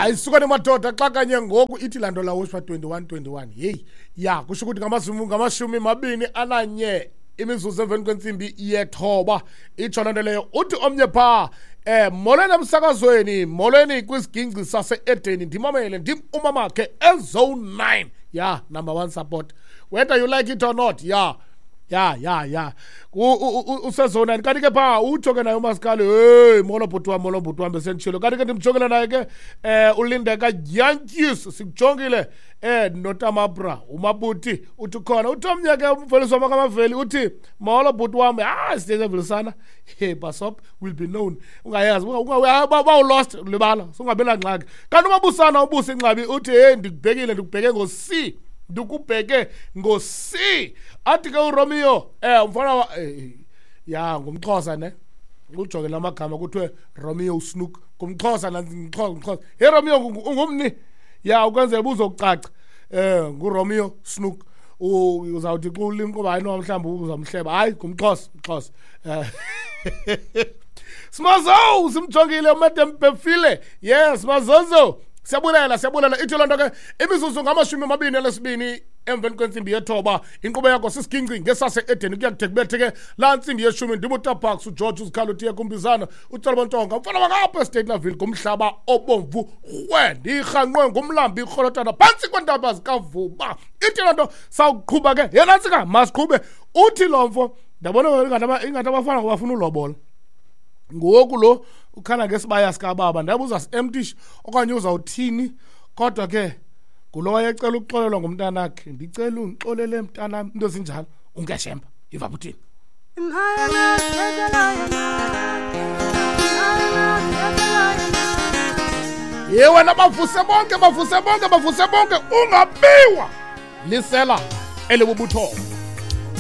Hayi suka nemadoda, xa kanye ngoku ithi laa nto lawushwa 21 21. Heyi ya, kusho ukuthi 21 imizuzu emveni kwentsimbi yethoba. Itsho loo nto leyo. Uthi omnye phaa, molweni emsakazweni, molweni kwisigingci sase-Edeni, ndimamele ndim umamakhe ezone 9. Ya, number 1 support, whether you like it or not. Ya ya ya ya, usezone 9. Kanti ke phaa utsho ke naye uMasikali, hey, molo bhuti wam, molo bhuti wam, besenditshilo. Kanti ke ndimjongile naye ke uLindeka Yankees, sikujongile noTamabra uMabuti uthi ukhona. Uthi omnye ke umvelisi wamakamaveli uthi molo bhuti wam, ah siyevelisana, hey basop will be known, ungayazi bawulost libala, sungabi nangxaki. Kanti uMabusana ubusa ingxabi uthi hey, ndikubhekile, ndikubheke ngo-C, ndikubheke ngo-C. Athi ke uRomeo, umfana ya ngumXhosa ne, ujonge lamagama kuthiwe Romeo Snook, ngumXhosa ngumXhosa, ngumXhosa. Hey Romeo, ungumni? Ya, ukwenzela ubuzokucaca. NguRomeo Snook. Uzawuthi xa ulimka uba hayi no, mhlawumbi uzamhleba. Hayi, ngumXhosa, umXhosa. Simazo, simjongile uMadam Befile. Yes, Mazozo. Siyabulela, siyabulela. Ithi loo nto ke imizuzu 22 emveni kwentsimbi yethoba. Inkqubo yakho sisigingci ngesase Edeni, kuya kude kubethe ke laa ntsimbi yeshumi. Ndimutaparks uGeorge uzikhalo utiye kumbizana uTsolo Bontonga mfana wakapha eStatenaville ngumhlaba obomvu rhwe, ndirhanqwe ngumlambi irholotana phantsi kweentaba zikaVuba. Ithi loo nto sawuqhuba ke yena ntsika, masiqhube. Uthi lo mfo ndabona ingathi abafana ngobafuna ulobola ngoku, lo ukhala ngesibaya sikababa, ndabuza si-emptish okanye uzawuthini, kodwa ke ngulo wayecela ukuxolelwa ngumntanakhe, ndicela undixolele mntanam, into ezinjalo. Ungeshemba iva buthini? Ye wena, bavuse bonke, bavuse bonke, bavuse bonke, ungabiwa lisela elibubuthongo.